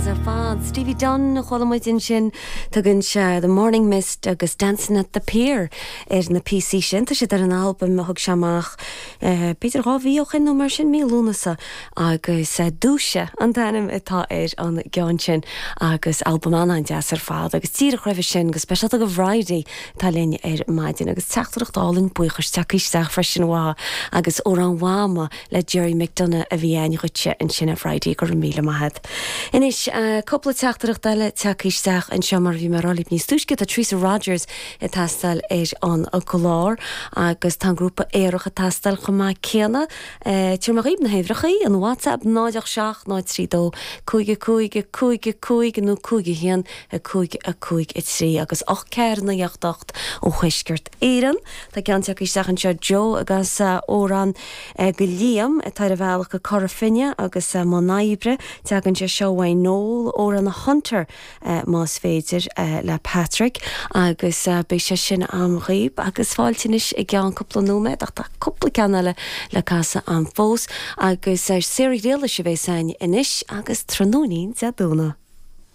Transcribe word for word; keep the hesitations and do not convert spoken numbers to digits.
An-deas ar fad. Stevie Dunn a chuala muid ansin tugann sé The Morning Mist agus Dancing at the Pier ar na píosaí sin tá siad ar an albam a thug sé amach eh, b'fhéidir dhá mhí ó shin nó mar sin mí Lúnasa agus eh, dúise an t-ainm atá ar an gceann sin agus albam an-deas ar fad agus díreach roimhe sin go speisialta do Bhridie tá linn ar maidin agus teachtaireacht álainn buíochais tagtha isteach freisin uá agus Amhrán Mhama le Gerry McDonagh a bhí ann dhuitse ansin a Bhridie go raibh míle maith. Anois cúpla teachtaireacht eile tagtha isteach anseo mar bhí mé rá níos túisce tá Teresa Rogers ag teastáil ar an gclár agus tá grúpa aerach ag teastáil chomh maith céanna Tabharfaidh mé dhaoibh na huimhreacha an WhatsApp náid seacht náid trí dó cúig cúig cúig cúig nó cúig haon a cúig a cúig a trí agus ocht ceathair naoi ocht ocht ó Thuaisceart Éireann Tá ceann tagtha isteach anseo Joe agus amhrán go Liam atá ar a bhealach go Cora Finne agus mbun oibre tagann sé seo uaidh Noel amhrán Hunter más féidir le Patrick agus beidh sé sin agam dhaoibh agus fáilte anois i gceann cúpla nóiméad ach tá cúpla ceann eile le casadh agam fós agus Sarah Grealish a bheas againn anois agus tráthnóinín Dé Domhnaigh.